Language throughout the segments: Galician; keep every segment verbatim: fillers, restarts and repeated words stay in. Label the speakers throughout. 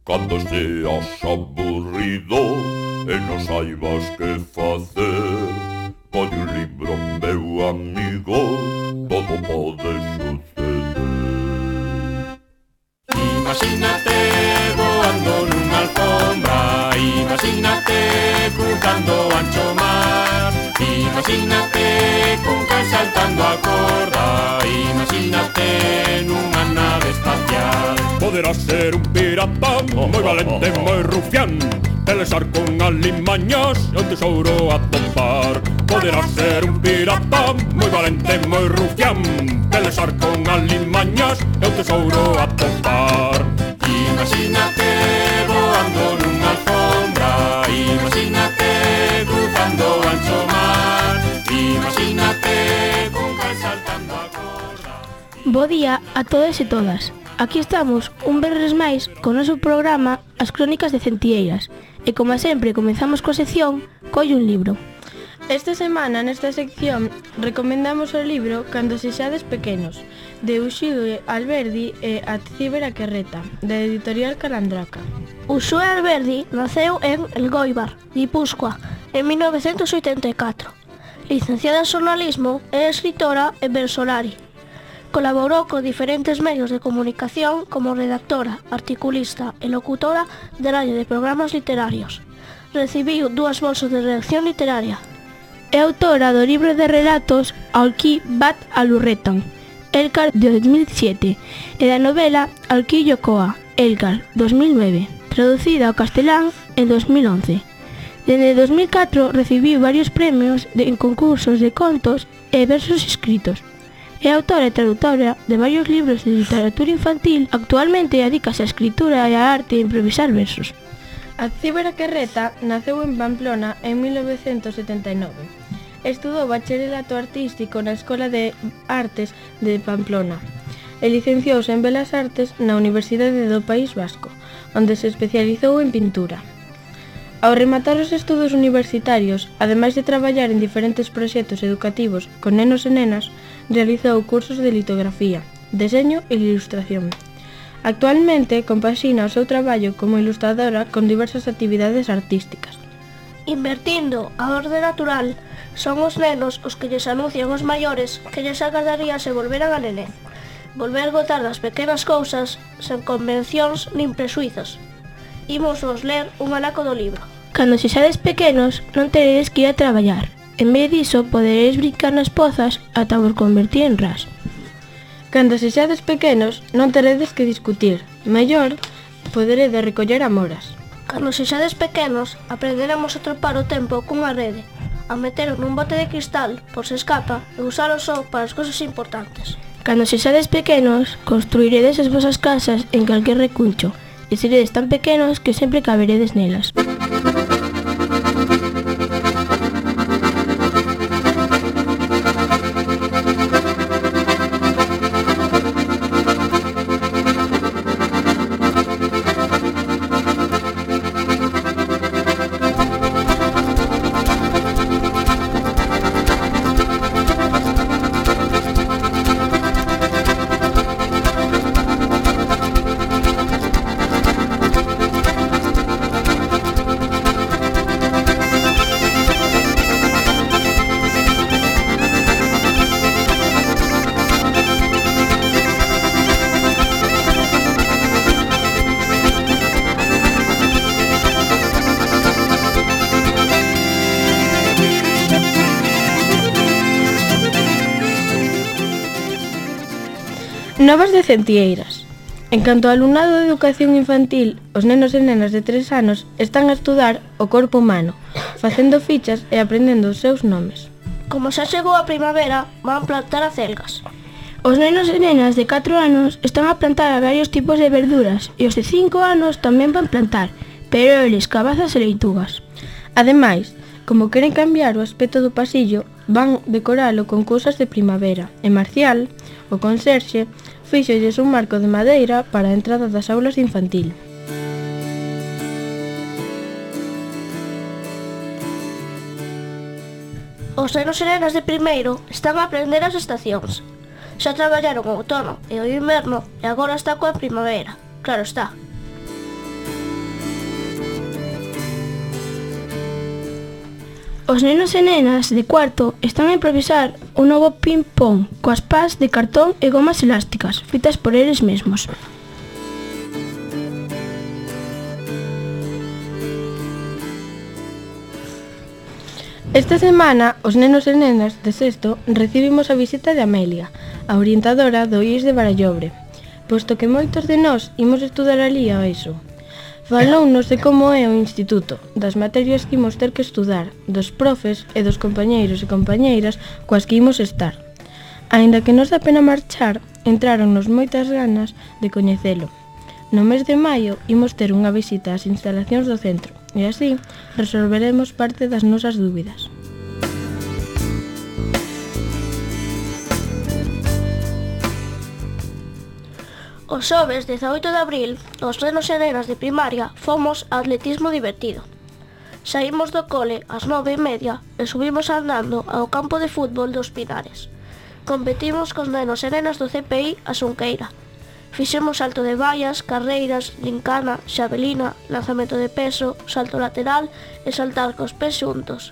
Speaker 1: Cando esteas aburrido e non saibas que facer, colle un libro, meu amigo, todo pode suceder.
Speaker 2: Imagínate voando nunha alfombra, imagínate cruzando o ancho mar, imagínate cun can saltando a corda, imagínate nunha nave espacial.
Speaker 3: Poderás ser un pirata moi valente, moi rufián, pelexar con alimañas e o tesouro a topar. Poderás ser un pirata moi valente, moi rufián, pelexar con alimañas e o tesouro a topar.
Speaker 2: Imagínate voando nunha alfombra, imagínate cruzando o ancho mar, imagínate cun can saltando a corda.
Speaker 4: Bo día a todos e todas. Aquí estamos, un venres máis, con o noso programa As Crónicas de Centieiras. E como sempre comezamos coa sección Colle un libro.
Speaker 5: Esta semana, nesta sección, recomendamos o libro Cando sexades pequenos, de Uxío Alberdi e Atziber a Querreta, da editorial Calandraca.
Speaker 4: Uxío Alberdi naceu en Elgoibar, Guipúzcoa, en mil novecentos oitenta e catro. Licenciada en xornalismo, é escritora e versolari. Colaborou con diferentes medios de comunicación como redactora, articulista e locutora de radio de programas literarios. Recibiu dúas bolsas de redacción literaria. É autora do libro de relatos Alquí bat alurretan, Elcar de dos mil sete, e da novela Alquí Yocoa, Elcar, dos mil nove, traducida ao castelán en dos mil once. Dende dos mil catro recibiu varios premios de, en concursos de contos e versos escritos. É autora e traductora de varios libros de literatura infantil. Actualmente adícase á escritura e á arte de improvisar versos.
Speaker 5: Atziber a Querreta naceu en Pamplona en mil novecentos setenta e nove. Estudou bacharelato artístico na Escola de Artes de Pamplona e licenciouse en Belas Artes na Universidade do País Vasco, onde se especializou en pintura. Ao rematar os estudos universitarios, ademais de traballar en diferentes proxectos educativos con nenos e nenas, realizou cursos de litografía, deseño e ilustración. Actualmente compaxina o seu traballo como ilustradora con diversas actividades artísticas.
Speaker 4: Invertindo a orde natural, son os nenos os que lles anuncian os maiores que lles agradaría se volveran a nenén. Volver gozar das pequenas cousas sen convencións nin presuizos. Imos vos ler un anaco do libro. Cando sexades pequenos, non teredes que ir a traballar. En vez diso, poderedes brincar nas pozas ata vos convertir en ras.
Speaker 5: Cando sexades pequenos, non teredes que discutir. Mellor, poderedes recoller amoras.
Speaker 4: Cando sexades pequenos, aprenderemos a tropar o tempo cunha rede, a metelo nun bote de cristal, por se escapa, e usalo só para as cousas importantes. Cando sexades pequenos, construiredes as vosas casas en calquer recuncho, e seredes tan pequenos que sempre caberedes nelas.
Speaker 5: Novas de Centieiras. En canto ao alumnado de educación infantil, os nenos e nenas de tres anos están a estudar o corpo humano, facendo fichas e aprendendo os seus nomes.
Speaker 4: Como xa chegou a primavera, van plantar acelgas. Os nenos e nenas de catro anos están a plantar a varios tipos de verduras e os de cinco anos tamén van plantar, pero eles cabazas e leitugas.
Speaker 5: Ademais, como queren cambiar o aspecto do pasillo, van decoralo con cousas de primavera e Marcial, o conserxe, fíxolles un marco de madeira para a entrada das aulas de infantil.
Speaker 4: Os nenos e nenas de primeiro están a aprender as estacións. Xa traballaron o outono e o inverno e agora está coa primavera. Claro está.
Speaker 6: Os nenos e nenas de cuarto están a improvisar un novo ping-pong coas pás de cartón e gomas elásticas feitas por eles mesmos.
Speaker 5: Esta semana, os nenos e nenas de sexto recibimos a visita de Amelia, a orientadora do I E S de Barallobre, posto que moitos de nós imos estudar ali a ESO. Falounos de como é o instituto, das materias que imos ter que estudar, dos profes e dos compañeiros e compañeiras coas que imos estar. Aínda que nos dá pena marchar, entráronnos moitas ganas de coñecelo. No mes de maio imos ter unha visita ás instalacións do centro e así resolveremos parte das nosas dúbidas.
Speaker 4: O xoves dezaoito de abril, os nenos e nenas de primaria fomos a atletismo divertido. Saímos do cole ás nove e media e subimos andando ao campo de fútbol dos Pinares. Competimos cos nenos e nenas do C P I a Xunqueira. Fixemos salto de vallas, carreiras, lincana, xavelina, lanzamento de peso, salto lateral e saltar cos pés xuntos.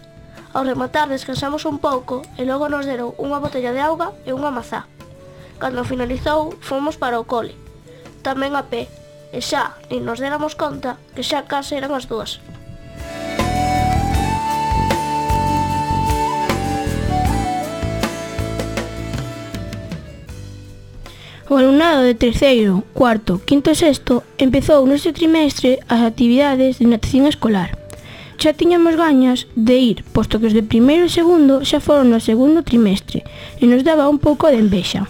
Speaker 4: Ao rematar descansamos un pouco e logo nos deron unha botella de auga e unha mazá. Cando finalizou, fomos para o cole, tamén a pé, e xa nin nos déramos conta que xa case eran as dúas.
Speaker 6: O alumnado de terceiro, cuarto, quinto e sexto empezou neste trimestre as actividades de natación escolar. Xa tiñamos gañas de ir, posto que os de primeiro e segundo xa foron no segundo trimestre e nos daba un pouco de envexa.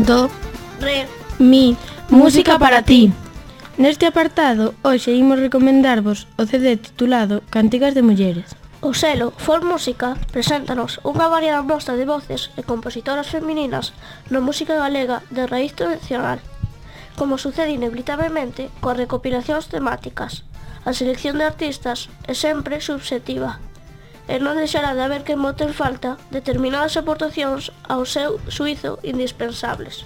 Speaker 5: Do,
Speaker 4: Re,
Speaker 6: Mi, música para ti.
Speaker 5: Neste apartado, hoxe imos recomendarvos o C D titulado Cantigas de Mulleres.
Speaker 4: o selo For Música preséntanos unha variada mostra de voces e compositoras femininas na música galega de raíz tradicional. Como sucede inevitablemente coas recopilacións temáticas, a selección de artistas é sempre subxectiva e non deixará de haber que bote en falta determinadas aportacións ao seu suízo indispensables.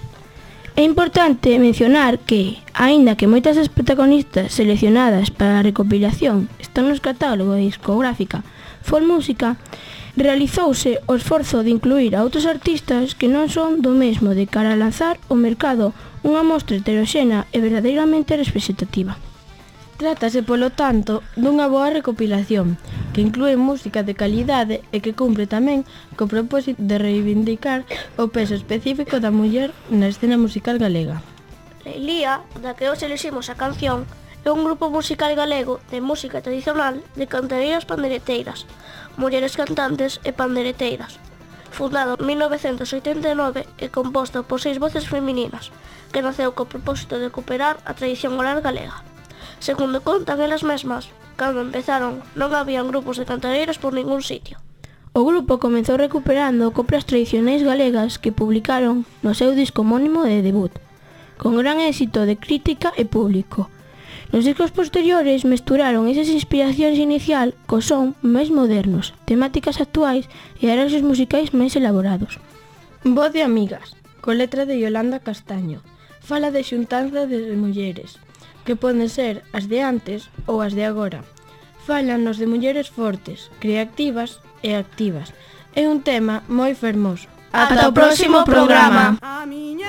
Speaker 6: É importante mencionar que, aínda que moitas das protagonistas seleccionadas para a recopilación están nos catálogos de discográfica For Música, realizouse o esforzo de incluir a outros artistas que non son do mesmo de cara a lanzar ao mercado unha mostra heteroxénea e verdadeiramente representativa.
Speaker 5: Trátase, polo tanto, dunha boa recopilación, que inclúe música de calidade e que cumpre tamén co propósito de reivindicar o peso específico da muller na escena musical galega.
Speaker 4: Leilía, da que hoxe eliximos a canción, é un grupo musical galego de música tradicional de cantareiras pandereteiras, mulleres cantantes e pandereteiras, fundado en mil novecentos oitenta e nove e composto por seis voces femininas, que naceu co propósito de recuperar a tradición oral galega. Segundo contan elas mesmas, cando empezaron non habían grupos de cantareiras por ningún sitio.
Speaker 6: O grupo comezou recuperando coplas tradicionais galegas que publicaron no seu disco homónimo de debut, con gran éxito de crítica e público. Nos discos posteriores mesturaron esas inspiracións inicial co son máis modernos, temáticas actuais e arranxos musicais máis elaborados.
Speaker 5: Voz de amigas, con letra de Yolanda Castaño, fala de xuntanza de mulleres, que poden ser as de antes ou as de agora. Fálanos de mulleres fortes, creativas e activas. É un tema moi fermoso.
Speaker 6: Ata o próximo programa.
Speaker 7: A miña